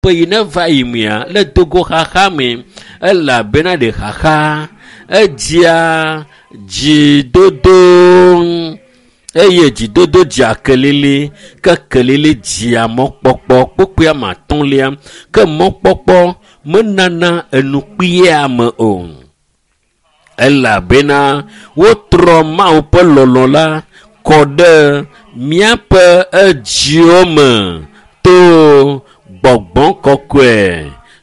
Ƒe yi ne va yi mea, le dogo xaxa me elabena ɖe xaxa edzia dzidodo eye dzidodo dzia kelili ke kelili dzia mɔkpɔkpɔ kpokpoe ame atɔ̃lia ke mɔkpɔkpɔ menana enu kpuie ame o elabena wotrɔ Mawu ƒe lɔlɔ̃ la kɔ ɖe míaƒe edziwo me to gbɔgbɔ kɔkɔe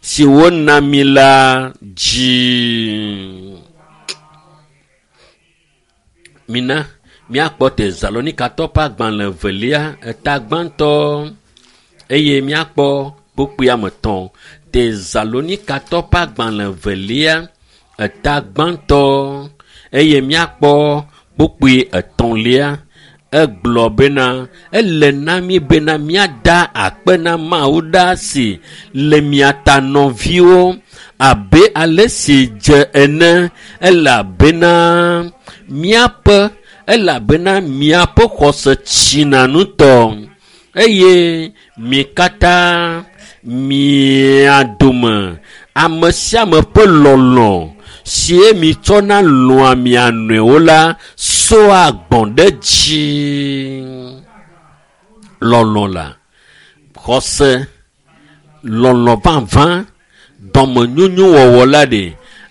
si wona mi la dzi. Mina míakpɔ Tesalonikatɔ ƒe agbalẽ evelia eta gbãtɔ eye míakpɔ kpukpui ame etɔ̃. Tesalonikatɔ ƒe agbalẽ evelia eta gbãtɔ eye míakpɔ kpukpui etɔ̃lia. Egblɔ bena ele na mí bena míada akpe na Mawu ɖaa si le mia ta nɔviwo abe ale si dze ene elabena míaƒe elabena miaƒe xɔse tsina ŋutɔ eye mi katã mia dome ame sia ame ƒe lɔlɔ̃ sie mitsɔna lɔ̃a mia nɔewo la sɔa gbɔ̃ ɖe dzi. Lɔlɔ̃ la, xɔse, lɔlɔ̃ vavã, dɔmenyonyo wɔwɔ la ɖe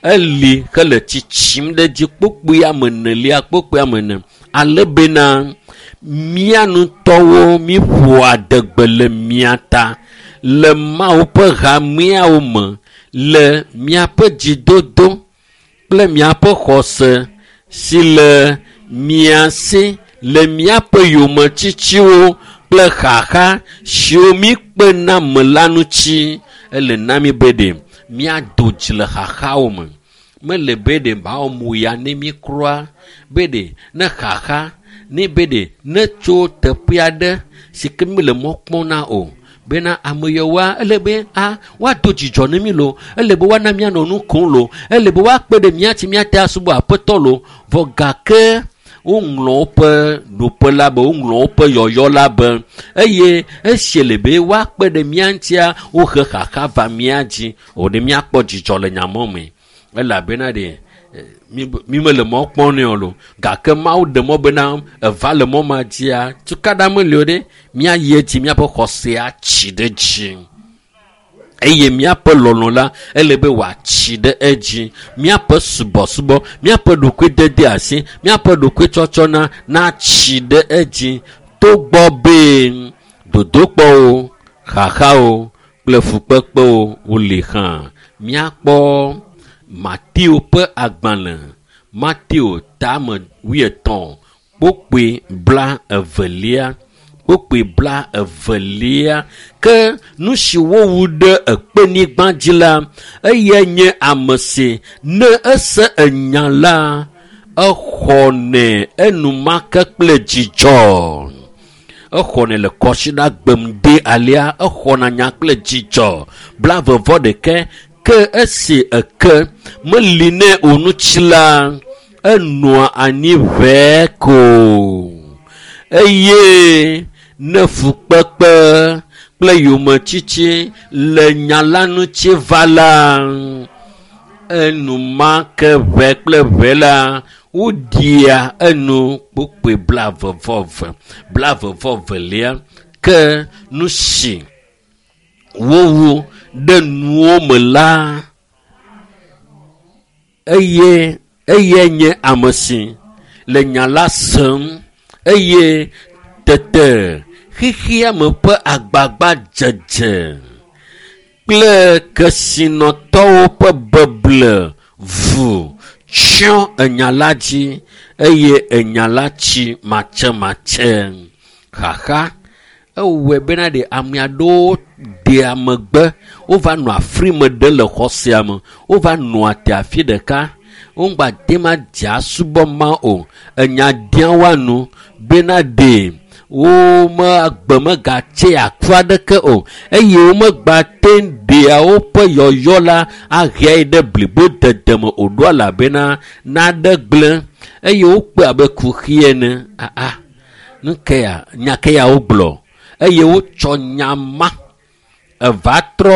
eli hele tsitsim ɖe dzi kpokpoe ame enelia kpokpoe ame ene ale bena mía ŋutɔwo míƒoa adegbe le mia ta le Mawu ƒe hameawo me le miaƒe dzidodo kple miaƒe xɔse si le mia si le miaƒe yometsitsiwo kple xaxa siwo míkpena me la ŋuti. Ele na mí be ɖe míado dzi le xaxawo me. Mele be ɖe mawɔ mo ya ne mí kura be ɖe ne xaxa ne be ɖe ne tso teƒe aɖe si ke míle mɔ kpɔm na o bena ame yawoa ele be a woado dzidzɔ ne mí lo ele be woana míanɔ nu kom lo ele be woakpe ɖe mía ŋuti míate asubɔ aƒetɔ lo vɔ gake woŋlɔ woƒe ɖoƒe la be woŋlɔ woƒe yɔyɔ la be eye esi le be woakpe ɖe mía ŋutia wohe xaxa va mía dzi o ɖe míakpɔ dzidzɔ le nyamɔ me elabena ɖe mi mele mɔ kpɔm nɛ o lo gake Mawu ɖe mɔ bena eva le mɔ ma dzia tukaɖa meli o ɖe míayi edzi míaƒe xɔsea tsi ɖe dzi eye míaƒe lɔlɔ̃ la ele be wòatsi ɖe edzi míaƒe subɔsubɔ míaƒe ɖokuidede asi míaƒe ɖokuitsɔtsɔna natsi ɖe edzi togbɔ be dodokpɔwo xaxawo kple fukpekpewo woli hã míakpɔ Mateo ƒe agbalẽ Mateo tame wuietɔ̃ kpokpoe bla evelia kpokpoe bla evelia ke nu si wowu ɖe ekpenyigba dzi la eyae nye ame si ne ese enya la exɔnɛ enumake kple dzidzɔ exɔnɛ le kɔsiɖa gbem de alea exɔna nya kple dzidzɔ blave vɔ ɖeke ke esi eke meli nɛ o ŋuti la enɔa anyi ʋɛɛ ko eye ne fukpekpe kple yometsitsi le nya la ŋuti va la enumake ʋɛ kple ʋɛ la woɖia enu kpokpoe blave vɔ eve blave vɔ velia ke nu si wowu ɖe nuwo me la eye eyae nye ame si le nya la sem eye tete xexea me ƒe agbagba dzedze kple kesinɔtɔwo ƒe beble vu tsyɔ enya la dzi eye enya la tsi matsematse xaxa ewɔe bena ɖe ame aɖewo dea megbe wova nɔ afri me ɖe le xɔ sia me wova nɔa te afi ɖeka womgba te ma dze asubɔ ma o enya dia woanu bena ɖe wome agbe megatse aku aɖeke o eye womegba te ɖea woƒe yɔyɔ la aheae ɖe blibo dede me o ɖo elabena naɖe gblẽ eye wokpe abe kuxi ene aa nu ke ya nya ke ya wogblɔ eye wotsɔ nya ma eva trɔ